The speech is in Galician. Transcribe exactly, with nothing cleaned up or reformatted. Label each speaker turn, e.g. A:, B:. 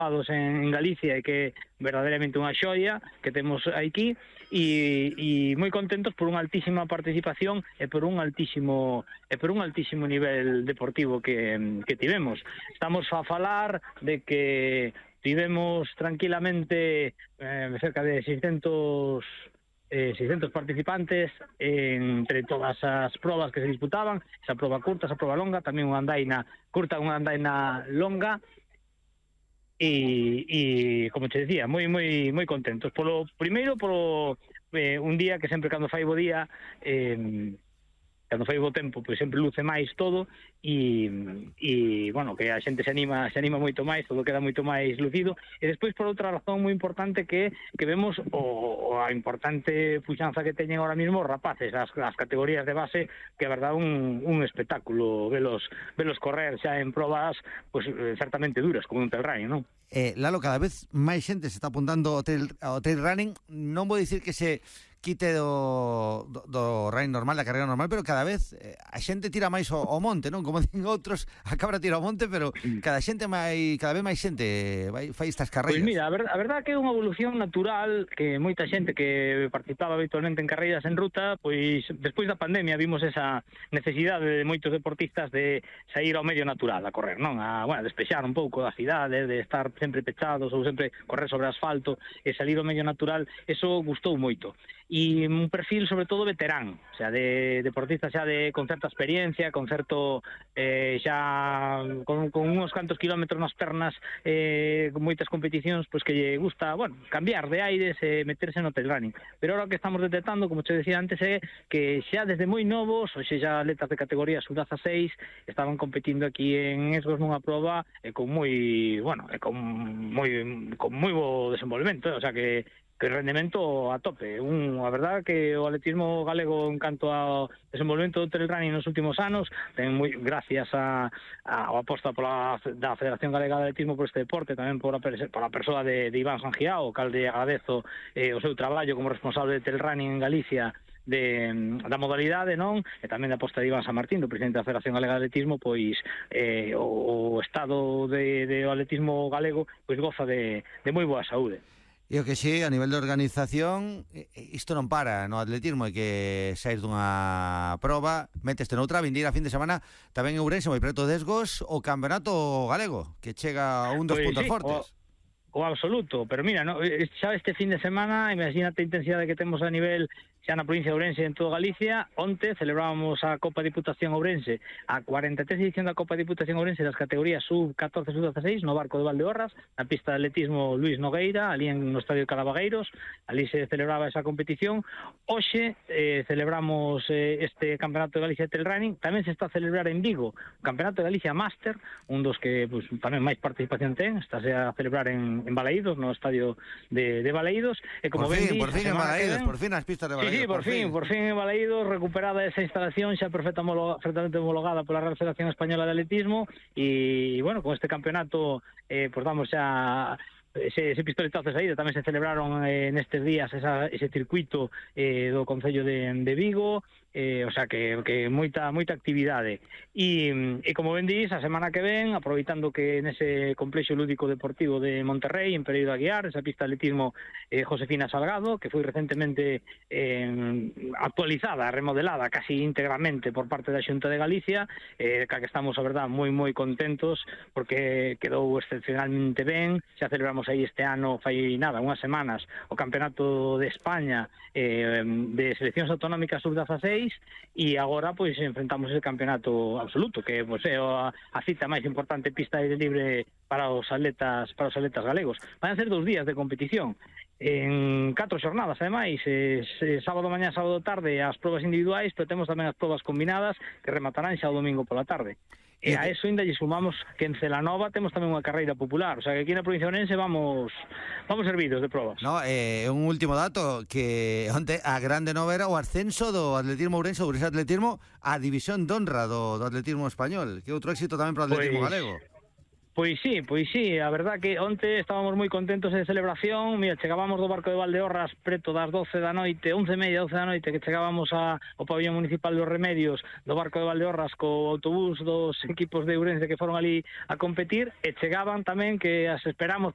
A: en Galicia e que é verdadeiramente unha xoia que temos aquí e, e moi contentos por unha altísima participación e por un altísimo e por un altísimo nivel deportivo que, que tivemos. Estamos a falar de que tivemos tranquilamente eh, cerca de seiscentos Eh, seiscentos participantes entre todas as probas que se disputaban, esa proba curta, esa proba longa, tamén unha andaina curta, unha andaina longa e, e como te decía, moi moi moi contentos. Polo primeiro, polo eh, un día que sempre cando fai bo día eh, cando fai bo tempo, pois sempre luce máis todo e, e bueno, que a xente se anima se anima moito máis, todo queda moito máis lucido. E despois, por outra razón moi importante, que que vemos o, o a importante puxanza que teñen ahora mismo os rapaces, as, as categorías de base, que é verdade un, un espectáculo velos, velos correr xa en probas pues, certamente duras, como un trail running, non?
B: Eh, Lalo, cada vez máis xente se está apuntando ao trail, ao trail running. Non vou dicir que se quite do, do, do running normal, da carreira normal, pero cada vez eh, a xente tira máis ao, ao monte, non? Como din outros, a cabra tira ao monte, pero cada xente máis, cada vez máis xente vai, fai estas carreiras.
A: Pois mira, a, ver, a verdade que é unha evolución natural que moita xente que participaba habitualmente en carreiras en ruta, pois despois da pandemia vimos esa necesidade de moitos deportistas de sair ao medio natural a correr, non? A, bueno, despexar un pouco da cidade, de estar sempre pechados ou sempre correr sobre asfalto e salir ao medio natural, eso gustou moito. E un perfil sobre todo veterán, o sea, de deportistas xa de con certa experiencia, con certo eh, xa con, con uns cantos kilómetros nas pernas, eh, con moitas competicións, pois que lle gusta, bueno, cambiar de aires e eh, meterse no trail running. Pero ahora o que estamos detectando, como te decía antes, é que xa desde moi novos, ou xa atletas de categoría sub dieciséis estaban competindo aquí en Esgos nunha proba e eh, con moi, bueno, eh, con moi con moi bo desenvolvemento, eh, o sea que que rendemento a tope. Un, a verdade que o atletismo galego en canto ao desenvolvemento do trail running nos últimos anos ten moi gracias a, a, a aposta pola da Federación Galega de Atletismo por este deporte, tamén por a, por a persoa de, de Iván Sangiao, o calde agradezo eh, o seu traballo como responsable de trail running en Galicia de, da modalidade, non? E tamén da aposta de Iván San Martín, do presidente da Federación Galega de Atletismo, pois eh, o, o estado de, de o atletismo galego pois goza de, de moi boa saúde.
B: E o que sí, a nivel de organización, isto non para no atletismo, é que saís dunha proba, meteste noutra, vindeira fin de semana, tamén en Ourense, moi preto de Esgos, o Campeonato Galego, que chega a un dos
A: pues
B: puntos
A: sí,
B: fortes.
A: O, o absoluto, pero mira, no, xa este fin de semana, imagínate a intensidade que temos a nivel xa na provincia de Ourense e en toda Galicia. Onte celebrábamos a Copa Diputación Ourense, a cuarenta e tres edición da Copa Diputación Ourense das categorías sub catorce e sub dieciséis no Barco de Valdeorras, na pista de atletismo Luis Nogueira, ali en no Estadio Calabagueiros. Ali se celebraba esa competición. Hoxe eh, celebramos eh, este Campeonato de Galicia de Trail Running. Tamén se está a celebrar en Vigo o Campeonato de Galicia Máster, un dos que pues, tamén máis participación ten. Está a celebrar en, en Balaídos, no Estadio de, de Balaídos. E como
B: por fin,
A: ben
B: por fin en Balaídos, ven, por fin as pistas de Balaídos.
A: Sí, sí, por, por fin, fin, por fin en Balaídos, recuperada esa instalación xa perfectamente homologada pola Real Federación Española de Atletismo e, bueno, con este campeonato eh, pues damos xa ese, ese pistoletazo de saída. Tamén se celebraron eh, nestes días esa, ese circuito eh, do Concello de, de Vigo, eh, o sea que, que moita moita actividade e, e como ben dís, a semana que ven, aproveitando que nese complexo lúdico deportivo de Monterrey, en Pereiro de Aguiar, esa pista de atletismo eh, Josefina Salgado, que foi recentemente eh, actualizada, remodelada casi íntegramente por parte da Xunta de Galicia, eh, que estamos, a verdad, moi moi contentos porque quedou excepcionalmente ben. Xa celebramos aí este ano, fai nada, unhas semanas, o Campeonato de España eh, de Seleccións Autonómicas sub dieciséis e agora pois enfrentamos ese campeonato absoluto que pois, é a, a cita máis importante pista aire libre para os atletas para os atletas galegos. Van a ser dous días de competición en catro xornadas, ademais, eh, sábado mañá, sábado tarde as probas individuais, pero temos tamén as probas combinadas que rematarán xa o domingo pola tarde. E a eso ainda lle sumamos que en Celanova temos tamén unha carreira popular, o sea que aquí na provincia de Ourense vamos vamos servidos de probas.
B: No, eh, un último dato, que onte a grande nova era o ascenso do atletismo Ourense, Ourense Atletismo, a división de honra do, do atletismo español, que outro éxito tamén para o atletismo pues, galego.
A: Pois sí, pois sí, a verdad que onte estábamos moi contentos de celebración. Mira, chegábamos do barco de Valdeorras preto das doce da noite, once e media, doce da noite, que chegábamos a, ao pabellón municipal dos Remedios do barco de Valdeorras co autobús dos equipos de Ourense que foron ali a competir, e chegaban tamén que as esperamos